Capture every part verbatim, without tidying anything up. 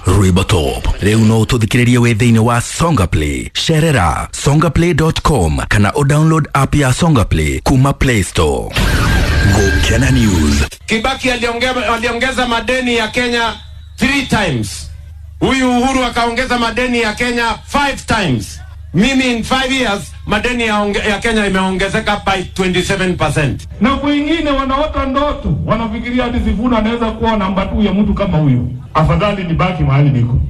Rwĩmbo Top. Rĩu no ũtũthikĩrĩrie wĩ thĩinĩ wa Songa Play. Cerera songaplay dot com kana ũdownload app ya Songa Play kuma Play Store. Gũkena News. Kibaki aliongeza, aliongeza madeni ya Kenya three times. Huyu Uhuru akaongeza madeni ya Kenya five times. Mimi in five years madeni ya, onge, ya Kenya imeongezeka by twenty-seven percent. Na kwingine wanaota ndoto, wanafikiria hadi Sifuna anaweza kuwa namba mbili ya mtu kama huyu. Afadhali nibaki mahali niko.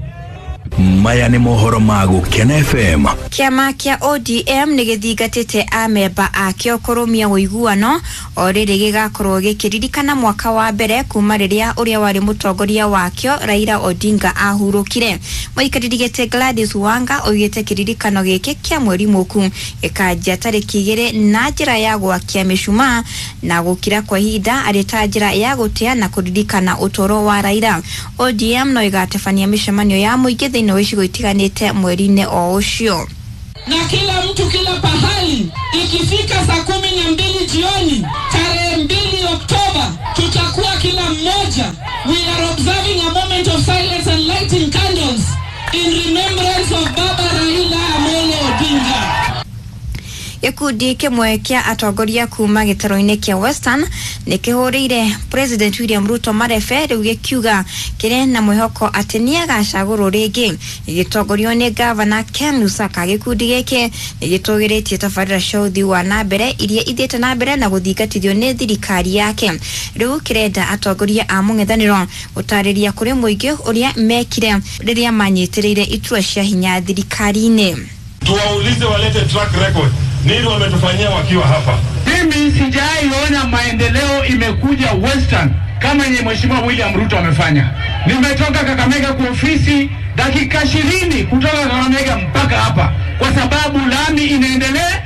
Maya nĩ mohoro ma Gũkena F M. Kĩama kĩa O D M nĩ gĩthingatĩte amemba akĩo kũrũmia ũiguano o rĩrĩ gĩgakorwo gĩkĩririkana mwaka wa mbere kuma rĩrĩa ũrĩa warĩ mũtongoria wakĩo Raila Odinga ahurũkire. Mũikarĩri gĩtĩ Gladys Wanga oigĩte kĩririkano gĩkĩ kĩa mweri mũku gĩkanjia tarĩki igĩrĩ na njĩra ya gwakia mĩcumaa na gũkira kwa ihinda arĩ ta njĩra ya gũtĩa na kũririkana ũtũũro wa Raila. O D M no ĩgatabania mĩcemanio ya mũingĩ thĩinĩ wa icigo itiganĩte mweri-inĩ o ũcio. Na kila mtu kila pahali, ikifika saa kumi na mbili jioni tarehe mbili Oktoba, tutakuwa kila mmoja, we are observing a moment of silence and lighting candles in remembrance of Baba Raila Amolo Odinga. Gĩkundi kĩmwe kĩa atongoria kuma gĩtarũ-inĩ kĩa Western nĩ kĩhũrĩire President William Ruto marebe, rĩu gĩkiuga kĩrĩ na mwĩhoko atĩ nĩ agacagũrwo rĩngĩ. Gĩgĩtongorio nĩ Gavana Ken Lusaka, gĩkundi gĩkĩ nĩ gĩtũgĩrĩtie tabarĩra cia ũthii wa na mbere iria ithiĩte na mbere na gũthingatithio nĩ thirikari yake. Rĩu kĩrenda atongoria a mũng'ethanĩro gũtarĩria kũrĩ mũingĩ ũrĩa mekire rĩrĩa manyitĩrĩire itua cia hinya thirikari-inĩ. Tuwaulize walete track record, nini wametufanyia wakiwa hapa. Mimi sijaiona maendeleo imekuja Western kama yenye Mheshimiwa William Ruto amefanya. Nimetoka Kakamega kwa ofisi, dakika ishirini kutoka Kakamega mpaka hapa, kwa sababu lami inaendelea.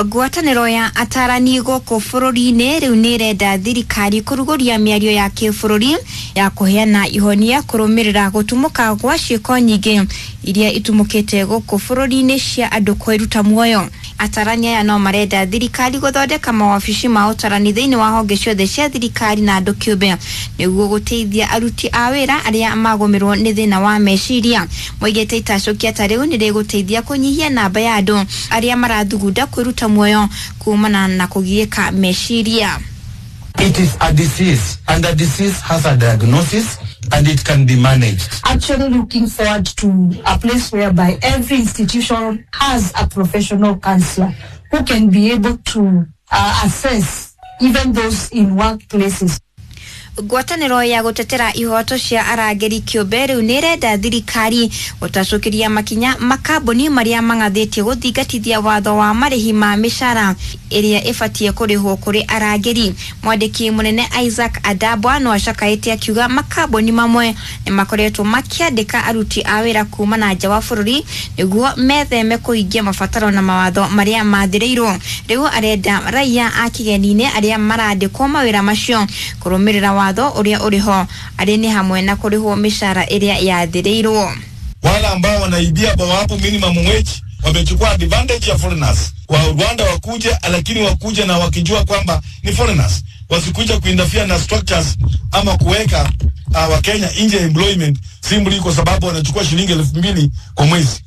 Ngwatanĩro ya atarani gũkũ bũrũri-inĩ rĩu nĩ ĩrenda thirikari kũrugũria mĩario ya kĩbũrũri ya kũheana ihonia kũrũmĩrĩra gũtumũka gwa ciĩko nyingĩ iria itumũkĩte gũkũ bũrũri-inĩ cia andũ kwĩruta muoyo. Atarani aya no marenda thirikari gũthondeka mawabici ma ũtarani thĩinĩ wa honge ciothe cia thirikari na andũ kĩũmbe nĩguo gũteithia aruti a wĩra arĩa magũmĩrwo nĩ thĩna wa meciria. Moigĩte itacũkia ta rĩu nĩ rĩgũteithia kũnyihia namba ya andũ arĩa marathugunda kwĩruta muoyo kumana na kũgiĩka meciria. It is a disease, and a disease has a diagnosis and it can be managed. Actually looking forward to a place whereby every institution has a professional counselor who can be able to uh, assess even those in workplaces. Ngwatanĩro ya gũtetera ihoto cia arangĩri kĩũmbe rĩu nĩ ĩrenda thirikari gũtacũkĩria makinya makambuni marĩa mang'athĩtie gũthingatithia watho wa marĩhi ma mĩcara ĩrĩa ĩbatiĩ kũrĩhwo kũrĩ arangĩri. Mwandĩki mũnene Isaac Adabwa no acakaĩte akiuga makambuni mamwe nĩ makoretwo makĩandĩka aruti a wĩra kuma na nja wa bũrũri nĩguo metheme kũhingia mabataro na mawatho marĩa mathĩrĩirwo. Rĩu arenda raia a kĩgeni-inĩ arĩa marandĩkwo mawĩra macio kũrũmĩrĩra watho ũrĩa ũrĩ ho, arĩ nĩ hamwe na kũrĩhwo mĩcara ĩrĩa yathĩrĩirwo. Wale ambao wanaibia hapo minimum wage wamechukua advantage ya foreigners. Wa Rwanda wakuja, lakini wakuja na wakijua kwamba ni foreigners, wasikuja kuinterfere na structures ama kuweka uh, Wakenya nje ya employment simply kwa sababu wanachukua shilingi elfu mbili kwa mwezi.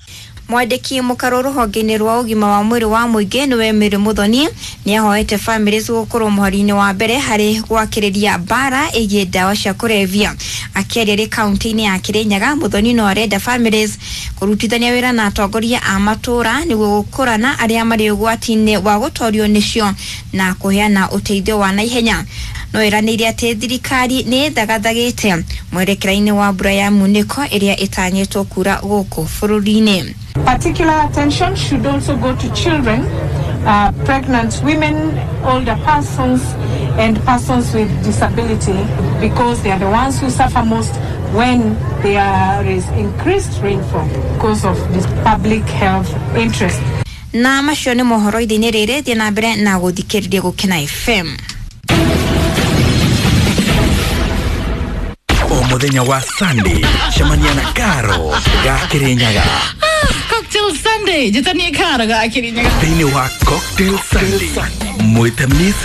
Mwandĩki mũkarũ rũhonge-inĩ rwa ũgima wa mwĩrĩ wa mũingĩ nĩwe Mary Muthoni nĩ ahoete bamĩrĩ gũkorwo mũhari-inĩ wa mbere harĩ gwakĩrĩria mbara ĩgiĩ ndawa cia kũrebia. Akĩaria rĩ kaunti-inĩ ya Kĩrĩnyaga, Muthoni no arenda families kũrutithania wĩra na atongoria a matũũra nĩguo gũkũrana arĩa marĩ ũgwati-inĩ wa gũtorio nĩcio na kũheana ũteithio wa naihenya. No ĩranĩire atĩ thirikari nĩ ĩthagathagĩte mwerekera-inĩ wa mbura ya munĩko ĩrĩa ĩtanyĩtwo kura gũkũ bũrũri-inĩ. Particular attention should also go to children, uh, pregnant women, older persons, and persons with disability, because they are the ones who suffer most when there is increased rainfall because of this public health interest. Na macio nĩ mohoro ithe-inĩ rĩrĩ. Thiĩ na mbere na gũthikĩrĩria Gũkena F M. O mũthenya wa Sunday cemania na Karo ga Kĩrĩnyaga. Cocktail Sunday, njĩtanie Karo ga Kĩrĩnyaga. Thĩinĩ wa Cocktail Sunday mwĩte Miss